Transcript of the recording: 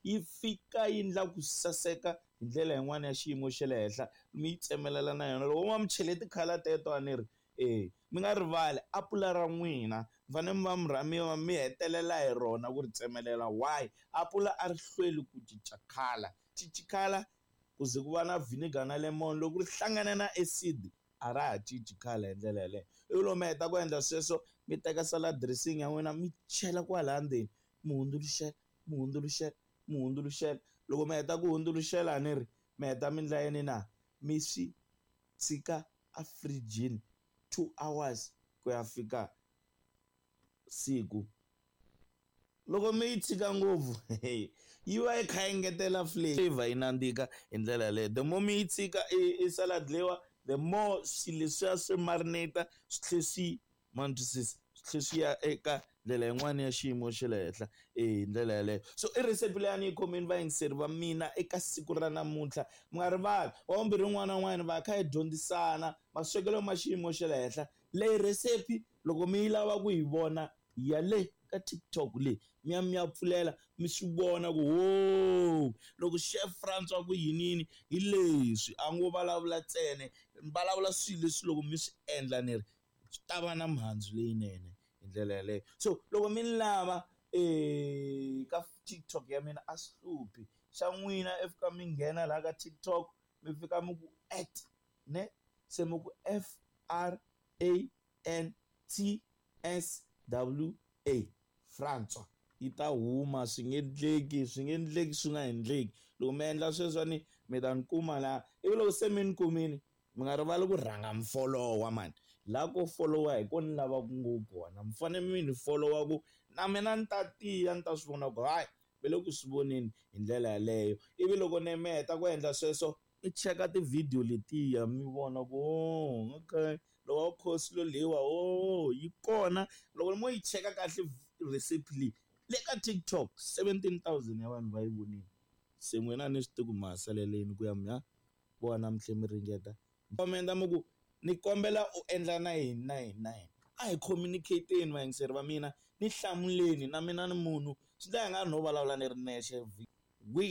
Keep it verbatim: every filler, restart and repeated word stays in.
Yi fika yi endla ku saseka hi ndlela yin'wani ya xiyimo xa le henhla mi yi tsemelela na yona loko va mi chele ti-colour teto a ni ri e mi nga rivali apula ra n'wina mi fanele mi va mi rha mi va mi hetelela hi rona ku ri tsemelela why apula a ri hlweli ku cinca colour cinci colour ku ze ku va na vinegar na lemon loko ri hlangana na acid a ra ha cinci colour hi ndlela yaleyo ivi loko mi heta ku endla sweswo mi teka salad dressing ya n'wina mi chela kwalaya ndzeni mi hundzuluxela mi hundzuluxela mi hundzuluxela loko mi heta ku hundzuluxela ni ri mi heta mi endla yini na mi swi tshika a firijini two hours ku ya fika siku loko mi yi tshika ngopfu yi va yi kha yi engetela flavor yi nandzika hi ndlela yaleyo the more mi yi tshika i salad leyiwa the more swilo leswiya swi marinate swi tlhe swi ma ni twisisa swi tlhe swi ya eka ndlela yin'wani ya xiyimo xa le henhla e hi ndlela yaleyo so i recipe leyi a ni yi khomini vayingiseri va mina eka siku ra namuntlha mi nga rivali wa vumbirhi un'wana na un'wana va kha hi dyondzisana maswekelo ma xiyimo xa le henhla leyi recipe loko mi yi lava ku yi vona ya le ka TikTok leyi mi ya mi ya pfulela mi swi vona ku ho loko chef Francois ku yinini hi leswi a ngo vulavula ntsena ni vulavula swilo leswi loko mi swi endla ni ri swi ta va na mihandzu leyinene hi ndlela yaleyo so loko mi ni lava ka TikTok ya mina a swi hluphi xa n'wina i fika mi nghena laha ka TikTok mi fika mi ku at ne se mi ku F R A N T S W A Francois yi ta huma swi nge endleki swi nge endleki swi nga endleki loko mi endla sweswiwani mi ta ni kuma laha ivi loko se mi ni kumini mi nga rivali ku rhanga mi folowa mani laha ko folowa hi ko ni lavaka ngopfu kona mi fanele mi ni folowa ku na mina ni ta tiya ni ta swi vona ku hayi ve le ku swi voneni hi ndlela yaleyo ivi loko ni mi heta ku endla sweswo mi cheka tivhidiyo letiya mi vona ku oh okay lowa coleslaw leyiwa oh yi kona loko mo yi cheka kahle recipe leyi le ka TikTok seventeen thousand ya vanhu va yi vonile se n'wina a ni swi tivi ku ma ha saleleni ku ya mi ya vona mi tlhela mi ringeta comment mi ku ni kombela u endla na yini na yini na yini a hi communicate-eni vayingiseri va mina ni hlamuleni na mina ni munhu swi ndla i nga ri no vulavula ni ri nexe we.